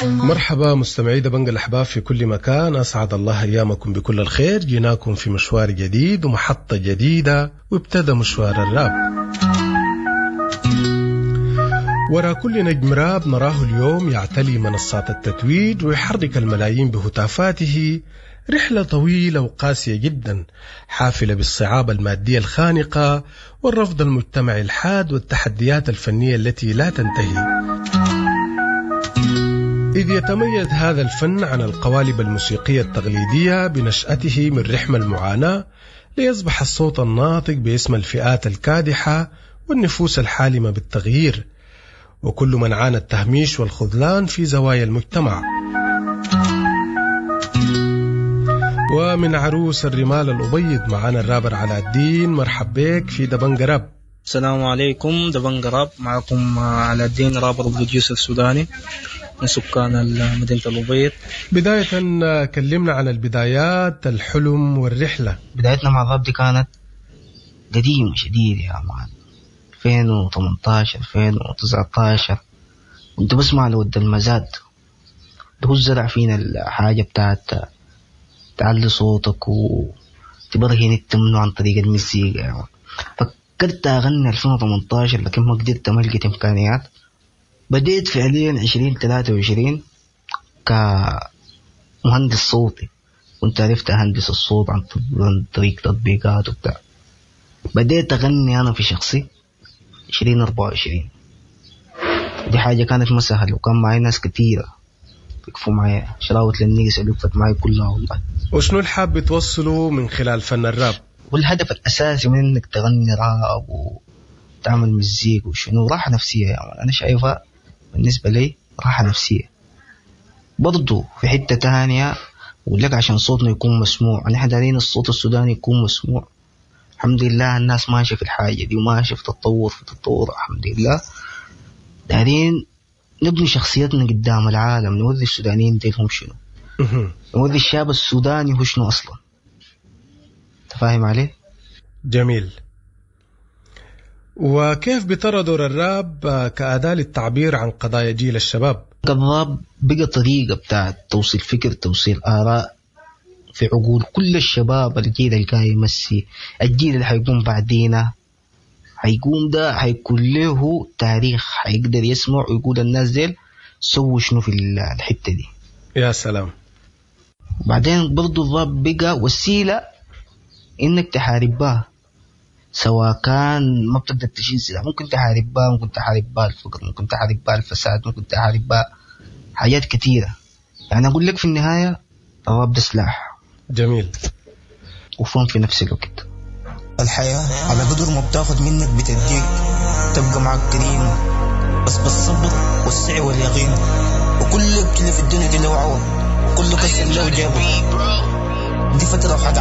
مرحبا مستمعي دبنج الأحباب في كل مكان، أسعد الله أيامكم بكل الخير. جيناكم في مشوار جديد ومحطة جديدة، وابتدى مشوار الراب. وراء كل نجم راب نراه اليوم يعتلي منصات التتويج ويحرك الملايين بهتافاته رحلة طويلة وقاسية جدا، حافلة بالصعاب المادية الخانقة والرفض المجتمعي الحاد والتحديات الفنية التي لا تنتهي. إذ يتميز هذا الفن عن القوالب الموسيقية التقليدية بنشأته من رحم المعاناة، ليصبح الصوت الناطق باسم الفئات الكادحة والنفوس الحالمة بالتغيير، وكل من عانى التهميش والخذلان في زوايا المجتمع. ومن عروس الرمال الأبيض معانا الرابر علاء الدين. مرحب بك في دبنج راب. السلام عليكم، دبنج راب معكم علاء الدين، rapper producer سوداني من سكان مدينة الأبيض. بداية كلمنا عن البدايات، الحلم والرحلة. بدايتنا مع الراب دي كانت قديمة شديد يا مان، 2018 2019 كنت بسمع لود المزاد، ده هو زرع فينا الحاجة بتاعت تعلي صوتك وتبرهن انت منه عن طريق المزيكا يا مان. فكرت أغني 2018 لكن ما قدرت، ما لقيت إمكانيات. بديت فعليا 2023 كمهندس صوتي، كنت عرفت أهندس الصوت عن طريق تطبيقات وبتاع. بديت أغني أنا في شخصي 2024، دي حاجة كانت ما سهلة، وكان معي ناس كتيرة وقفوا معي، شراوة للنيس اللي وقفت معي كلها والله. وشنو الحاب توصله من خلال فن الراب؟ والهدف الأساسي من إنك تغني راب وتعمل مزيك وشنو، راحة نفسية يا مان. أنا شايفها بالنسبة لي راحة نفسية. برضو في حتة تانية أقول لك عشان صوتنا يكون مسموع، نحن دارين الصوت السوداني يكون مسموع. الحمد لله الناس ماشية في الحاجة دي وماشية في تطور، في تطور الحمد لله. دارين نبني شخصيتنا قدام العالم، نوري السودانيين ديل هم شنو، نوري الشاب السوداني هو شنو أصلا. تفاهم عليه؟ جميل. وكيف بترى دور الراب كأداة للتعبير عن قضايا جيل الشباب؟ الراب بقى طريقة بتاعت توصيل فكر، توصيل آراء في عقول كل الشباب، الجيل اللي كان يمسي، الجيل اللي حيقوم بعدينا، حيقوم ده حيكون له تاريخ، حيقدر يسمع ويقول الناس ديل سووا شنو في الحتة دي. يا سلام. وبعدين برضو الراب بقى وسيلة انك تحارب بها، سواء كان ما بتقدر تشيل سلاح ممكن تحارب بها، ممكن تحارب بها الفقر، ممكن تحارب بها الفساد، ممكن تحارب بها حاجات كثيرة. يعني أقول لك في النهاية الراب ده سلاح. جميل. وفهم في نفس الوقت. الحياة على قدر ما بتاخد منك بتديك، تبقى معك كريمة بس بالصبر والسعي واليقين، وكل اللي في الدنيا دي له عوض، وكل كسر له جابه. دي فترة وحتعدي.